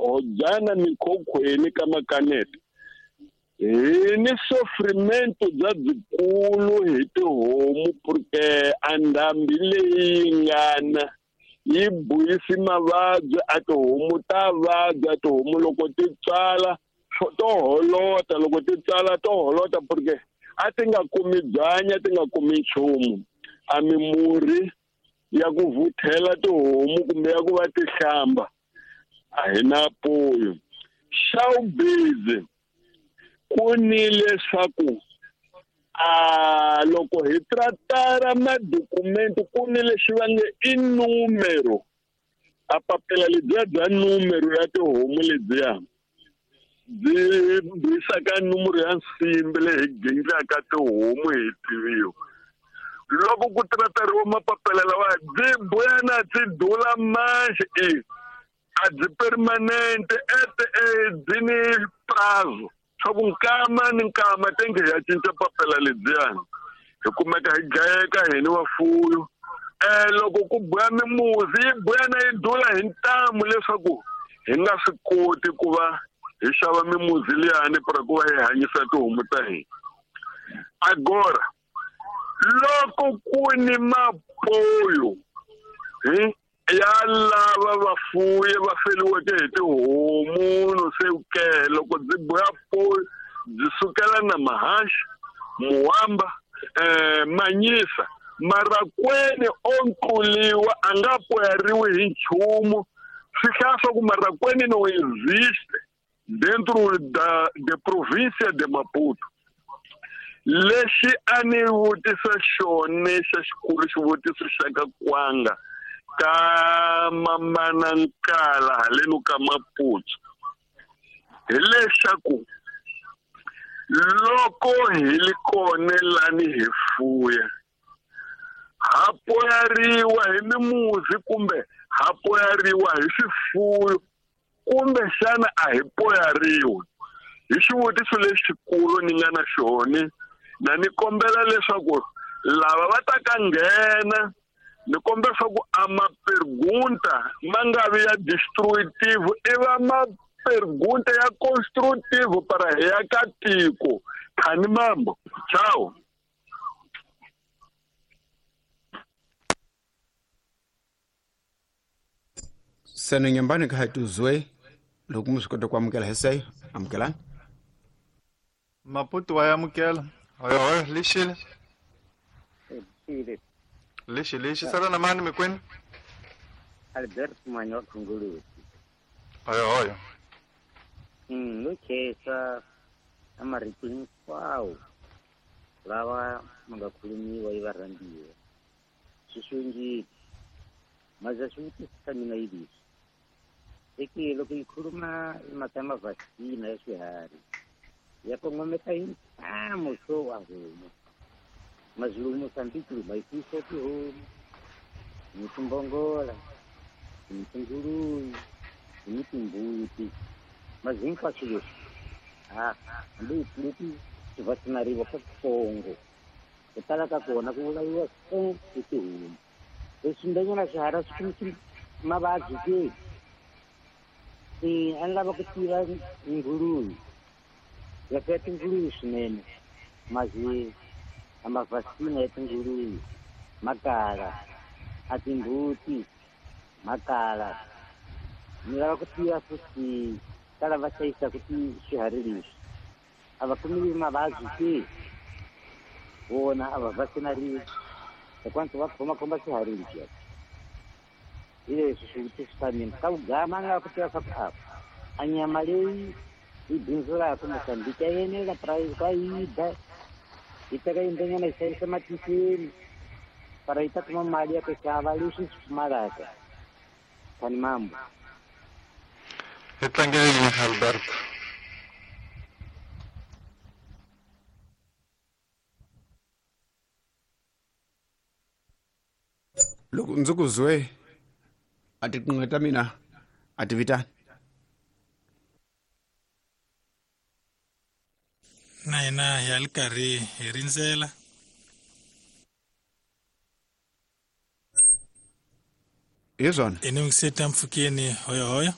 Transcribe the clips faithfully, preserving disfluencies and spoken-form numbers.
hodzana mikhokhweni ka makanete hi ni sofrimento bya byikulu hi tihomu porque a ndhambi leyi ngana yi buyisi mavabyi a tihomu ta vabya tihomu loko ti tswala to holota loko ti tswala to holota porque a ti nga kumi byanyi a ti nga kumi nchumu a mimurhi ya ku vuthela tihomu kumbe ya ku va ti hlamba a hi na poyo xa vubizi ku ni leswaku a loko hi tratara madokumento ku ni lexi va nge i numero a papila lebyiya bya numero ya tihomu lebyiya byi buyisaka numero ya nsimbi leyi hi gindlaka tihomu hi tiviwa loko ku tratariwa mapapila lawa byi buyana byi dula manxe i a byi permanente ete byi ni prazo swa ku nkama ni nkama tenge hi ya cinca papila lebyiyani hi kumeka hi dlayeka hi ni vafuyo um loko ku buya mimuzi yi buyana yi dula hi ntamu leswaku hi nga swi koti ku va hi xava mimuzi liyani para ku va hi hanyisa tihomu ta hina agora loko ku ni mapoyo hi ya lava vafuyi va feliweke hi tihomu no se ke loko byi buya poyo byi sukela na mahaxi muwamba um manyisa marakweni o nkluliwa a nga poyariwi hi nchumu swi hlaya swa ku marakweni no existe dentro da de província de Maputo lexi a ni vutisa xona xa xikulu xivutiso xa ka kwanga ka mamana nkala haleno ka Maputo hi leswaku loko hi li kona lani hi fuya ha poyariwa hi mimuzi kumbe ha poyariwa hi swifuyo kumbe xana a hi poyariwi hi xivutiso lexikulu ni nga na xona na ni kombela leswaku lava va ta ka nghena ni kombela leswaku a mapergunta ma nga vi ya destructive i va mapergunta ya constructive para hi ya ka tiko khani mambo ciao. Seno nyambani ka hatuzwe loko mi swi kota ku amukela hi seyo amukelani Maputo wa amukela hoyo hoyo lixile lexi lexi sala na mani mikwini Albert Manyo Khungulusi hoyo hoyo mm no khesa amarito hinkwawo lawa ma nga khulumiwa yi varhandziwa swi xungile maza swivutiso swa mina yi leswi eke loko yi khuluma i mhaka ya mavhasina ya swiharhi ya kongomeka hi ntamu swo wa homu Mazulu Mozambique ma yi fuwisa tihomu ni timbongola ni tinguluve ni timbuti mazi hinkwaswo leswi a hambi leti swi vaccinariwa ka switsongo ku tala ka kona ku vulaviwa e i tihomu leswi ndanyana swiharhi swi kumisi mavabyi ke se a ni lava ku tiva nguluve ya fuya tinguluve swinene mazi a mavhasina ya tinguluve makala a timbuti makala ni lava ku tiva futhi ka lava hlayisaka ti swiharhi leswi a va kumiwi mavabyi ke vona a va vaccinariwi hikwalaho va khomakhoma swiharhi leswiya hi leswi swivutiso swa mina ka vugama a ni lava ku tiva swa ku a a nyama leyi yi bindzulaka Mozambique ya yenela ka yi dya yi teka yindlanyana yi xavisa matikweni para yi ta kuma mali ya ku xava leswi swi pfumalaka khani mambo hi tlangeleni Albert loko ndzi ku zwe a tiqingho ta mina a ti vitani na hina hi ya li karhi hi rindzela hi swona i ni yingiseta mpfhukeni hoyo hoyo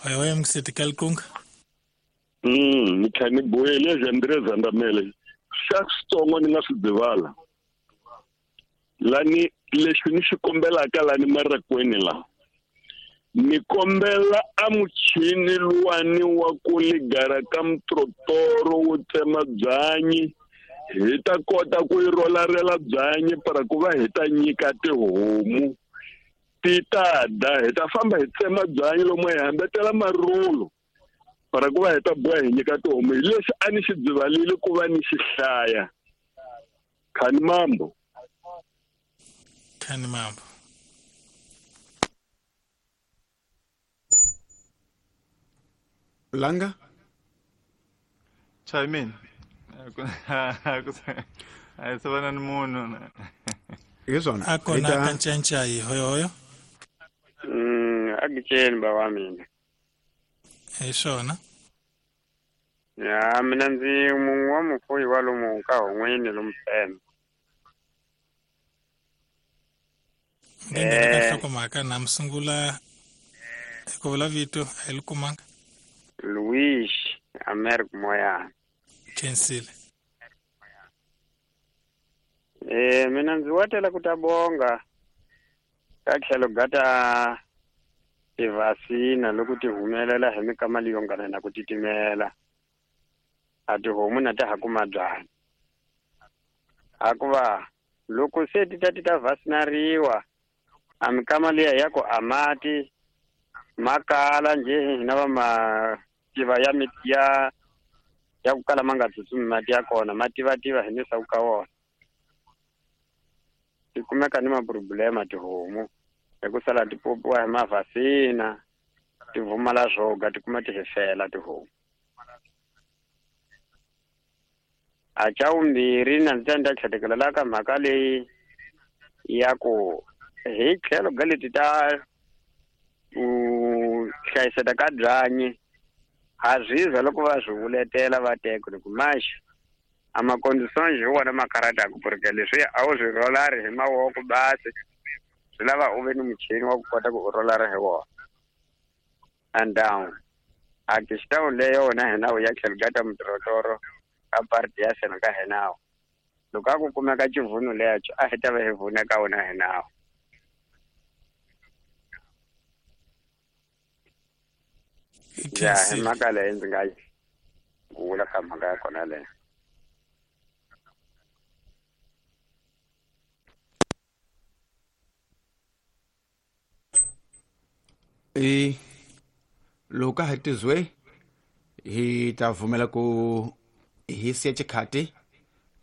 Hoyohoyo mxeti Kalkunga. Mm, ni kha ni boyele André Zandamele. Xa switsongo ni nga swi divala. Lani lexi ni xi kombelaka lani marakweni la. Ni kombela a muchini luwani wa ku ligara ka mtrotoro wo tsema byanyi hi ta kota ku yi rolarela byanyi para ku va hi ta nyika tihomu ti ta da hi ta famba hi tsema byanyi lomu hi hambetela marulu para ku va hi ta boha hi nyika tihomu hi lexi a ni xi byivalile ku va ni xi hlaya. Khani mambo. Khani mambo. Langa? Chime in. A se vana ni munhu. Hi swona. A kona ka Ncancai hoyohoyo. Mm, a giceni ba wa mina. Hi swona. Ya mina ndzi mun'we wa mufuyi wa lomu ka hon'wini lomu Pembe. Nge ka nhlokomhaka na mi sungula hi ku vula vito a hi li kumanga. Luis Americo Moyana. Khensile. Eh mina ndzi watela ku ta bonga ka tlhelo gata tivasina loko ti humelela hi mikama leyi yongana na ku titimela a tihomu na ta ha kuma byanyi hakuva loko se ti ta ti ta vasinariwa a mikama liya ya ku a mati makala nje hina va mativa ya miti ya ya ku kala ma nga tsutsumi mati ya kona ma tivativa hi ni ka wona ti kumeka ni maproblema tihomu hi ku sala ti popiwa hi mavhasina ti vumala swoga ti kuma ti hefela tihomu. A xa vumbirhi na ndzi ta ni ta tlhetekela ka mhaka leyi ya ku hi tlhelo ga leti ta ku hlayiseka ka byanyi ha zwiza loko va swi vuletela va teka loko maxi a maconditions hi wona ma karhataka porque leswi a wu swi rolari hi mavoko basi swi lava u ve ni muchini wa ku kota ku u rolara hi wona. And down a kixitawu leyi yona hina ya tlhelo ka ta mutirotoro ka parti ya sena ka hinawo loko a ku kumeka xivhuno lexo a hi ta va hi vhuna ka wona hinawo. Ya hi mhaka leyi ndzi nga yi vula ka mhaka ya kona leyo. E loko ka ha tizwe hi ta vumela ku hi siya xikhati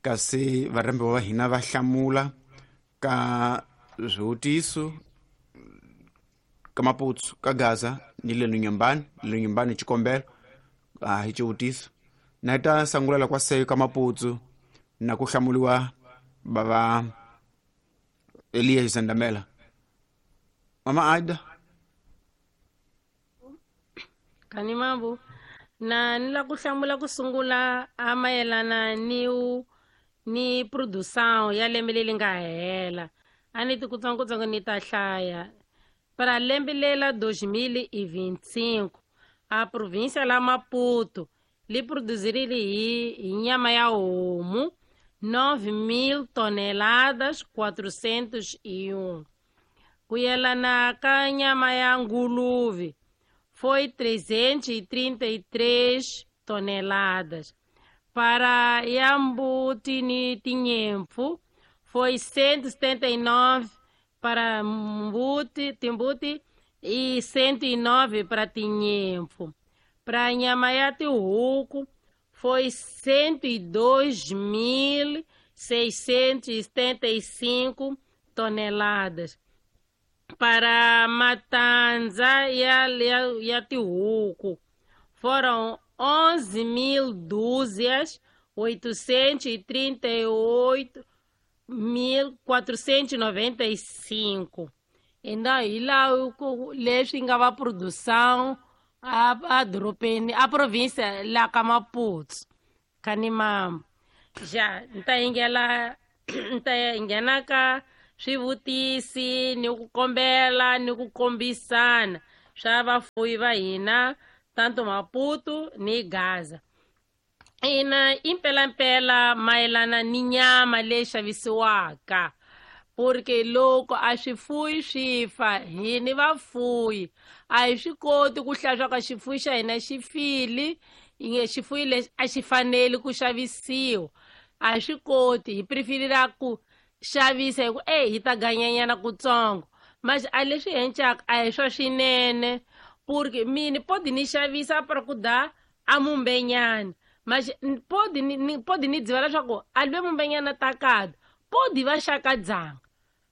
kasi varhambiwa va hina va hlamula ka swivutiso ka Maputsu ka Gaza ni le Nunyambani le Nunyambani xikombelo a hi xivutiso na hi ta sangulela kwa seyo ka Maputsu na ku hlamuliwa bava Elias Zandamela. Mama Aida. Kani mambo na ni la ku hlamula ku sungula a mayelana ni ni produção ya lembe leri nga hela a ni ti kutsongotsongo ni ta hlaya. Para lembe lela dois mil e vinte e cinco a província la Maputo li produzirile hi, hi nyama ya homu nove mil toneladas quatrocentos e um. Ku yelana ka nyama ya nguluve foi trezentos e trinta e três toneladas. Para Yambuti ni Tinhempo foi cento e setenta e nove para Mbuti, Timbuti e cento e nove para Tinhempo. Para Nhamayate Ruco foi cento e dois mil seiscentos e setenta e cinco toneladas. Para Matanza e a Tihuco foram onze mil dúzias oitocentos e trinta e oito mil quatrocentos e noventa e cinco. Então, e lá leswi nga va produção a, a dorobeni a província la ka Maputo Kanimambo. Já nta yingela nta nghena ka swivutisi ni ku kombela ni ku kombisana swa vafuwi va hina tanto Maputo ni Gaza. Ina impelampela mayelana ni nyama leyi xavisiwaka, porque loko a swifuyi swi fa hi ni vafuyi a hi swi koti ku hlaya swa ka xifuyi xa hina xi file, inge xifuyi lexi a xi faneli ku xavisiwa, a hi swi koti, hi preferira ku xavisa hi ku e hi ta ganyanyana kutsongo. Mas a leswi hencaka a hi swa swinene, porque mini podi ni xavisa para ku da a mumbenyana, mas podi ni podi ni dziva leswaku a lwe mumbenyana ta kada podi va xaka dzanga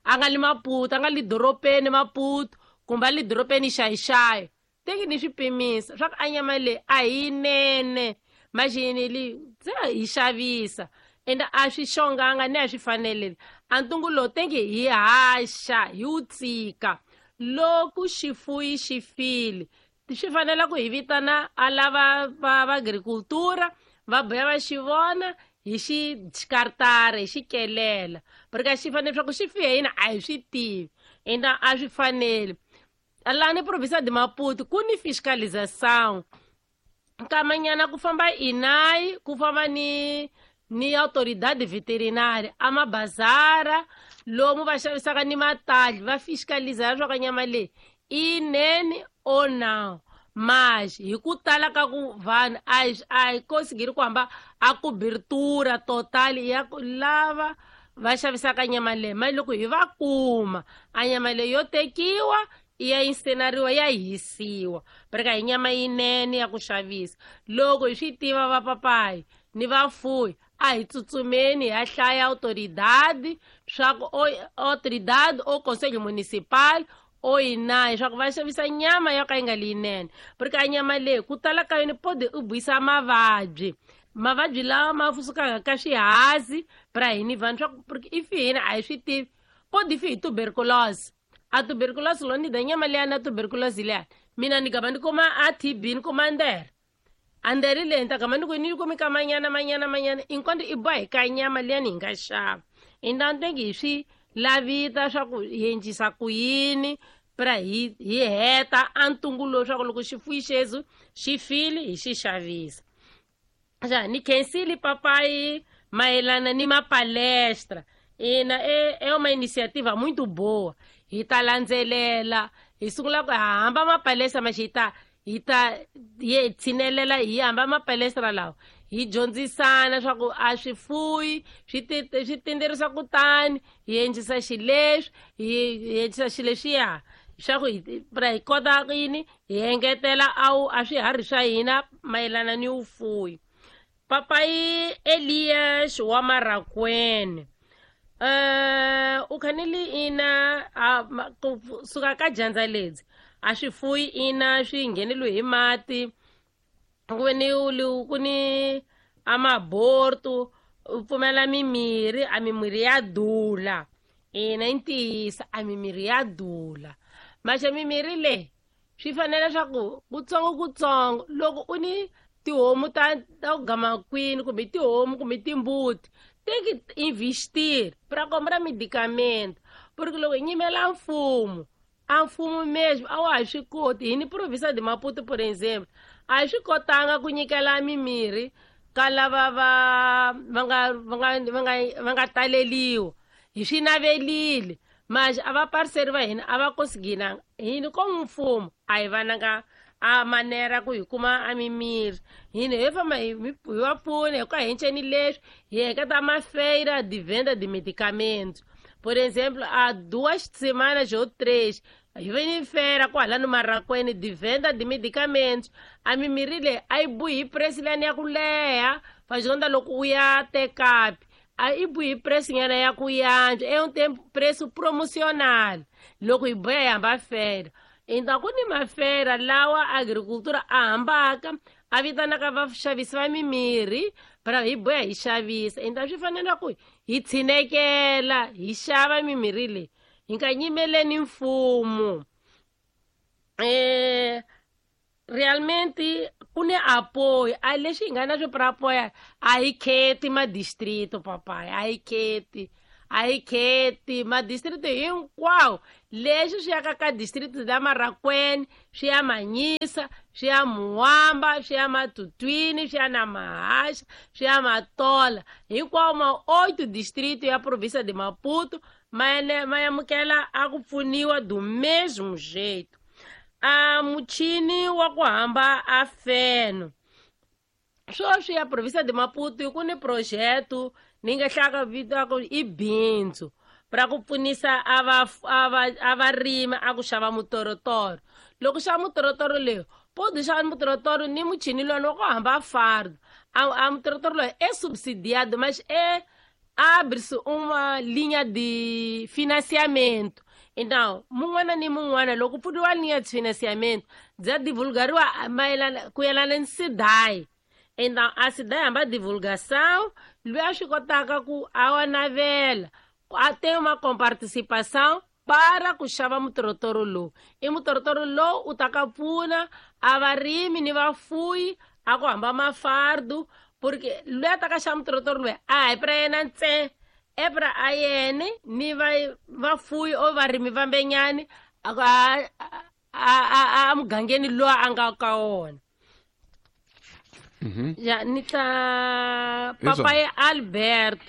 a nga li Maputo, a nga li doropeni Maputo kumbe a li doropeni xayixayi, teki ni swi pimisa swa ku a nyama leyi a hi yinene, maxini li se hi xavisa ende a swi xonganga ni a swi faneleli. A ntungu lowu teki hi haxa hi wu tsika loko xifuyi xi file, swi fanele ku hi vitana a lava va va agricultura va boya va xi vona hi xi xikartara hi xi kelela, porque xi fanele swa ku xi fihe hina a hi swi tivi ende a swi faneli. Laha ni provinsia de Maputo ku ni fiscalização nkamanyana ku famba INAI, ku famba ni ni autoridade veterinária a mabazara lomu va xavisaka ni matali va fiscaliza leswaku nyama leyi i nene or não. Mas hi ku tala ka ku vanhu a hi a hi consigiri ku hamba a cobertura total ya ku lava va xavisaka nyama leyi, mali loko hi va kuma a nyama leyi yo tekiwa i ya insenariwa ya hisiwa, porque hi nyama yinene ya ku xavisa. Loko hi swi tiva va papayi ni vafuwi a hi tsutsumeni hi ya hlaya autoridade swa ku autoridade o conselho municipal o INAI swa ku va xavisa nyama yo ka yi nga leyinene, porque a nyama leyi ku tala ka yona podi u buyisa mavabyi, mavabyi lawa ma sukaka ka swihazi pra hini vanhu swa ku porque if hina a hi swi tivi podi fi hi tuberculose, a tuberculose lo ni da nyama leya na tuberculose leya mina ni gama ni kuma a T B ni kuma ndere a ndere leyi ni ta gama ni ku ni kumi ka manyana manyana manyana inkonto i boha hi ka nyama liya ni hi nga xava. Intanto hi swi lavita swa ku hi endlisa ku yini pra hi hi heta a ntungu lowu swa ku loko xifuyi xexo xi file hi xi xavisa. Xa ni khensile papai mayelana ni mapalestra, ina é é uma iniciativa muito boa, hi ta landzelela hi sungula ku hamba mapalestra mas hi ta hi ta hi tshinelela hi hamba mapalestra lawa hi dyondzisana swa ku a swifuyi swi swi tinderisa kutani hi endlisa xileswi hi endlisa xileswiya swa ku hi pra hi kota yini hi engetela awu a swiharhi swa hina mayelana ni vufuwi. Papai Elias wa Marakwene uh, u khanele ina ku suka ka dyandza ledzi a swifuyi ina swi ngheneliwe hi mati, ku ve ni ku ni amaborto u pfumela mimirhi, a mimirhi ya dula, ina i ntiyiso a mimirhi ya dula, maxe mimirhi leyi swi fanele swa ku kutsongo kutsongo loko u ni tihomu ta ta ku gama kwini kumbe tihomu kumbe timbuti tem que investir para comprar medicamento, porque loko hi nyimela mfumo a mfumo mesmo a wa ha swi koti. Hi ni provinsia de Maputo por exemplo a hi swi kotanga ku nyikela mimirhi ka lava va va nga va nga va nga va nga taleliwa, hi swi navelile mas a va parceri va hina a va consiginanga hini ko mfumo a hi vananga a manera ku hi kuma a mimirhi, hina hi famba hi va pfuna hi ku hi enceni leswi hi heketa mafeira de venda de medicamento. Por exemplo, há duas semanas ou três hi ve ni feira kwalano Marakwene de venda de medicamentos, a mimirhi leyi a yi buhi hi price liyani ya ku leha fazonda loko u ya tekapi a yi buhi hi price nyana ya ku yantswa é um tempo preço promocional loko hi boya hi hamba feira. Então ku ni mafeira lawa agricultura a hambaka a vitanaka vaxavisi va mimirhi pra hi boya hi xavisa. Então swi fanele ku hi tshinekela hi xava mimirhi leyi hi nga nyimeleni mfumo. Eh realmente ku ni apoio a leswi hi nga na swo pra apoia a hi kheti madistrito papai a hi kheti A yi kheti madistrito hinkwawo leswi swi yaka ka district la Marracuene, swi ya Manyisa, swi ya Muwamba, swi ya Matutwini, swi ya na Mahasha, swi ya Matola, hinkwawo ma oito distrito ya província de Maputo ma ma amukela a ku pfuniwa do mesmo jeito. A muchini wa ku hamba a feno sweswi ya província de Maputo ku ni projeto ni nga hlaka vito ku i bindzu ra ku pfunisa a va a varimi a ku xava mutorotoro. Loko xava mutorotoro leyo pode xava mutorotoro ni muchini lowu wa ku hamba fardo a a mutorotoro loyi é subsidiado, mas é abre-se uma linha de financiamento. Então, mun'wana ni mun'wana loko pfuriwa linha de financiamento bya divulgariwa mayelana ku yelana ni SEDAI. Então, a SEDAI hamba divulgação loyi a swi kotaka ku a wa navela a tem uma comparticipação para ku xava mutorotoro lowu. I mutorotoro lowu u ta ka pfuna a varimi ni vafuyi a ku hamba mafardu, porque loyi a ta ka xava mutorotoro loyi a hi pra yena ntsena, e pra a yena ni va vafuyi o varimi vambenyani a a a mugangeni loyi a nga ka wona. Ya ni ta papai Alberto,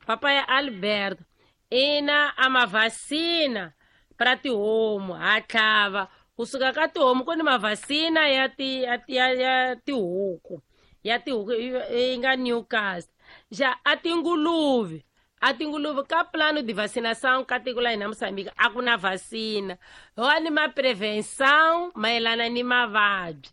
papai Alberto ina a mavacina pra tihomu ha tlhava kusuka ka tihomu ku ni mavacina ya ti ya ya tihuku ya tihuku yi nga Newcastle. Ja a tinguluve a tinguluve ka plano de vacinação ka tiko la hina Moçambique a ku na vacina ho ni ma prevenção mayelana ni mavabyi.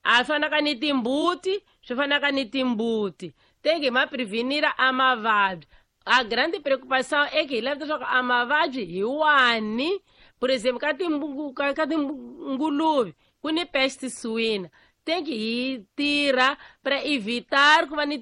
A fanaka ni timbuti swi fanaka ni timbuti tem que ma prevenir a mavabyi. A grande preocupação é que leva leswaku a mavabyi hi wani. Por exemplo, ka timbungu ka tinguluve ku ni peste suína, tem que hi tirha para evitar ku va ni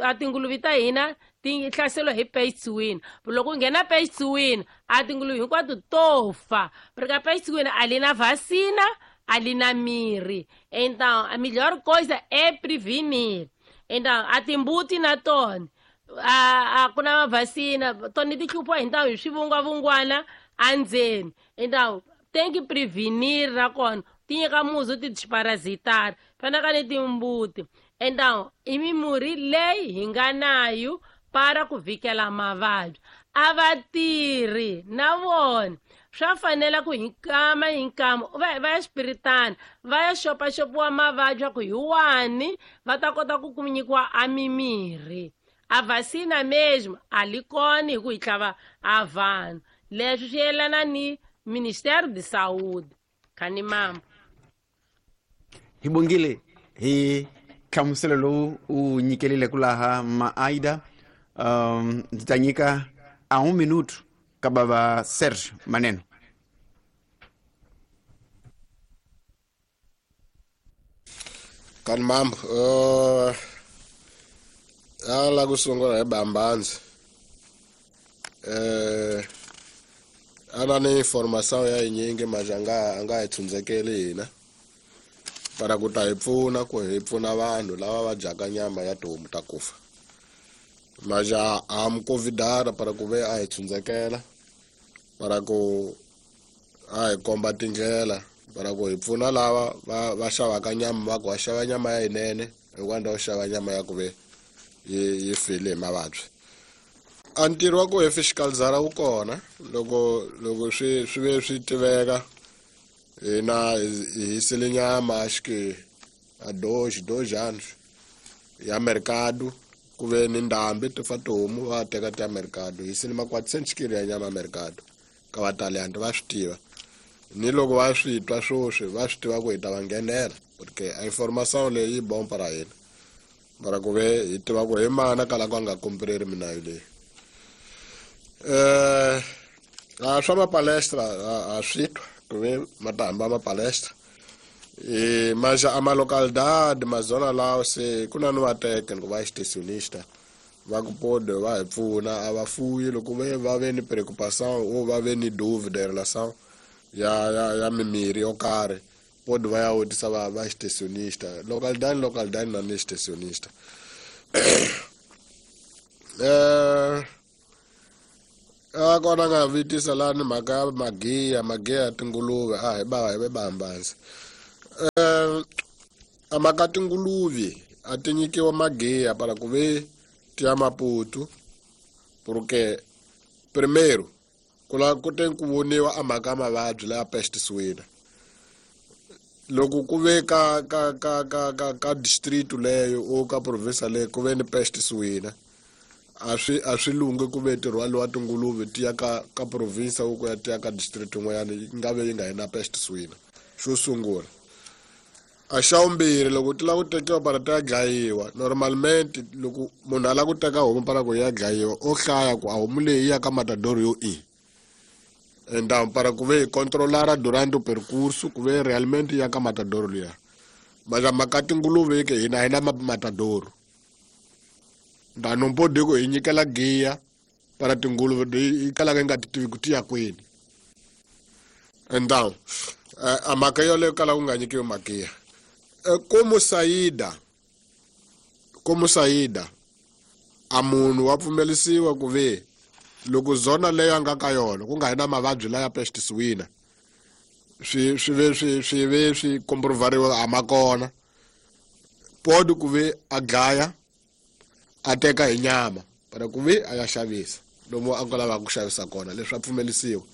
a tinguluve ta hina ti hlaseriwa hi peste suína. Loko ku nghena peste suína a tinguluve hinkwato to fa, porque a peste suína ali na vacina ali na mirri. Então a melhor coisa é prevenir. Então a timbuti na tona a a ku na vacina tona ti hlupha hi ntamu hi swivungwavungwana andzeni. Então tem que prevenir na kona ti nyika muzi ti parasitar fanaka ni timbuti. Então i mimurhi leyi hi nga nayo para ku vhikela mavabyi. A va tirhi na vona swa fanela ku hi nkama hi nkama va va ya xipiritana va ya xopaxopiwa mavabyi ya ku hi wani va ta kota ku ku nyikiwa a mimirhi. A vacina mesmo a li kona hi ku hi tlhava a vanhu. Leswi swi yelana ni Ministério de Saúde. Khanimambo hi bongile hi nhlamuselo lowu u nyikelile ku laha Maaida. Um ndzi ta nyika a un minuto ka bava Serge Maneno. Khanimambo uh ala ku sungula hi Bambanzi eh ana ni informação ya yinyingi manje anga anga hi tshundzekeli hina para ku ta hi pfuna ku hi pfuna vanhu lava va dyaka nyama ya tihomu ta kufa. Manje a mi convidara para ku ve a hi tshundzekela para ku a hi komba tindlela para ku hi pfuna lava va va xavaka nyama va ku va xava nyama ya yinene hikwalaho xava nyama ya ku ve yi yi file hi mavabyi. A ntirho wa ku hi fiscalizara wu kona loko loko swi swi ve swi tiveka hina hi hisile nyama acho que a dois dois anos ya mercado ku ve ni ndhambi ti fa tihomu va teka ti ya mercado hisile ma quatrocentos kilo ya nyama mercado ka vataliyani va swi tiva ni loko va swi twa swoswi va swi tiva ku hi ta va nghenela porque a informação leyi yi bon para hina para ku ve hi tiva ku hi mana kala ku a nga kumpreri minayo leyi. Eh a swa mapalestra a swi twa ku ve ma ta hamba mapalestra e mas a ma localidade ma zona lawo se ku na ni vateke ni ku va extensionista va ku pode va hi pfuna a va fuyi loko ve va ve ni preocupação ou va ve ni dúvida em relação ya ya ya mimiri yo karhi pode va ya vutisa va va extensionista localidade localidade na ni extensionista. Eh A kona nga vitisa lani mhaka ya magiya magiya ya tinguluve a hi ba hi ve bambansi. Eh a mhaka tinguluve a ti nyikiwa magiya para ku ve ti ya Maputo porque primeiro ku la ku te ku voniwa a mhaka ya mavabyi laya peste suína. Loko ku ve ka ka ka ka ka ka distrito leyo o ka province leyo ku ve ni peste suína a swi a swi lunghi ku ve ti rhwaliwa tinguluve ti ya ka ka province ku ya ti ya ka district yin'wanyana yi nga ve yi nga yi na peste suína. Xo sungula a xa vumbirhi loko ti lava ku tekiwa para ti ya dlayiwa normalmente loko munhu a lava ku teka homu para ku ya dlayiwa o hlaya ku a homu leyi yi ya ka matador yo i então para ku ve controlar durante o percurso ku ve realmente ya ka matador liya mas a mhaka tinguluve ke hina hi na matador então não pode ku hi nyikela giya para tinguluve yi kalaka yi nga ti tivi ku ti ya kwini. Então a mhaka yoleyo kala ku nga nyikiwi magiya. Como saída como saída a munhu wa pfumelisiwa ku ve loko zona leyo a nga ka yona ku nga hi na mavabyi laya peste suína swi swi ve swi swi ve swi comprovariwa a ma kona pode ku ve a dlaya a teka hi nyama para ku ve a ya xavisa lomu a lavaka ku xavisa kona leswi a pfumelisiwa.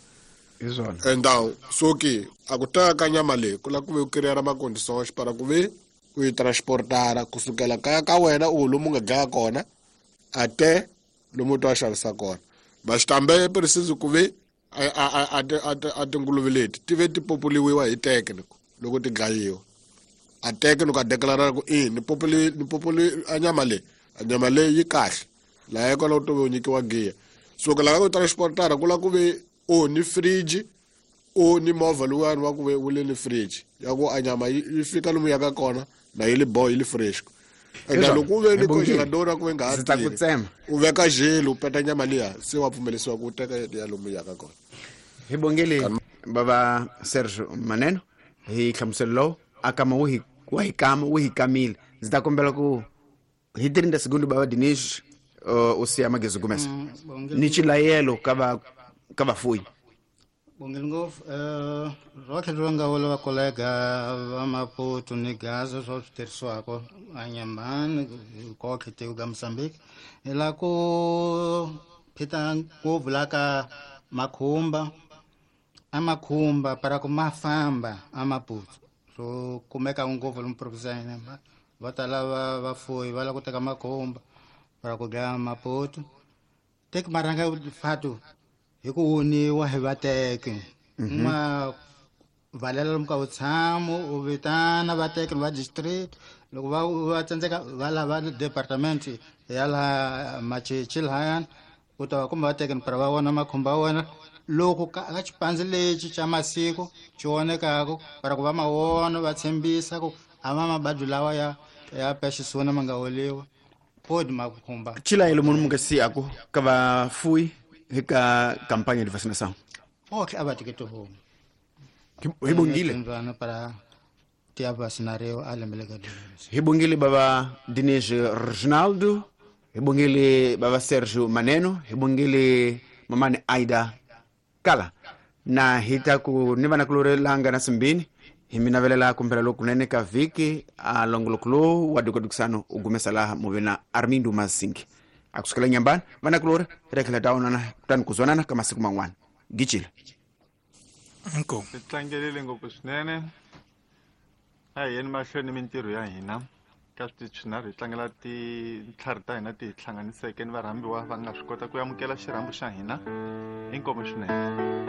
Hi swona. Então so ke a ku teka ka nyama leyi ku lava ku ve u kiriyara macondições para ku ve u yi transportara kusukela kaya ka wena u lomu nga dlaya kona até lomu u ta xavisa kona. Mas também é preciso ku ve a a a a tinguluve leti ti ve ti populiwa hi técnico loko ti dlayiwa a técnico a declarar ku i ni populi ni populi a nyama leyi a nyama leyi yi kahle laha kwalaho to ve u nyikiwa giya so ku lava ku transportara ku lava ku ve o ni fridge o ni movha luwani wa ku ve wu le ni fridge ya ku a nyama yi fika lomu yaka kona na yi li boy yi li fresh. Enda loko u ve ni congelador ku ve nga ha tirhi u veka gelo u peta nyama liya se wa pfumelisiwa ku teka ya lomu yaka kona. Hi bongele baba Sergio Maneno hi hlamuselo lowu a kama wu hi wa hi kama wu hi kamile. Ndzi ta kombela ku hi trinta segundo baba Dinis u siya Magezi Gumesa ni xilayelo ka va ka vafuyi. Bongele ngopfu eh rotlhe ri nga vula va kolega va Maputo ni Gaza swa swi tirhisiwaka a Nyambani kotlhe tiko ka Mozambique hi la ku phita ngopfu la ka makhumba a makhumba para ku ma famba a Maputo swo kumeka ngopfu lomu province ya Nyambani va tala va vafuyi va lava ku teka makhumba para ku dlaya Maputo teki marhanga fatu hi ku woniwa hi vateki ma valela lomu ka vutshamo u vitana vateki va district loko va va tsandzeka va lava department ya laha Machichi lahayani u ta va kumbe vateki para va vona makhumba ya wena loko ka ka xipandzi lexi xa masiku xi vonekaku para ku va ma vona va tshembisa ku a ma mabadi lawa ya ya peste suína ma nga holiwa podi makhumba. Xilayelo munhu mu nga siyaku ka vafuyi hi ka campagne de vacinação. Otlhe a va teke tihomu hi bongile para ti ya vacinariwa a lembe leka hi bongile baba Dinis Reginaldo hi bongile baba Sergio Maneno hi bongile mamani Aida Kala na hi ta ku ni vanakulorhi langa na simbini hi mi navelela kumbela lokunene ka vhiki a longoloko lowu wa dukadukisano u gumesa laha muve na Armindo Masingi a kusukela Nyambani vanakulorhi hi ta tlhela ta onana kutani ku zwanana ka masiku man'wana gicile. Inkomu hi tlangelile ngopfu swinene a hi yeni mahlweni mintirho ya hina ka switichi swinharhu hi tlangela tintlhari ta hina ti hi hlanganiseke ni varhambiwa va nga swi kota ku amukela xirhambo xa hina inkomu swinene.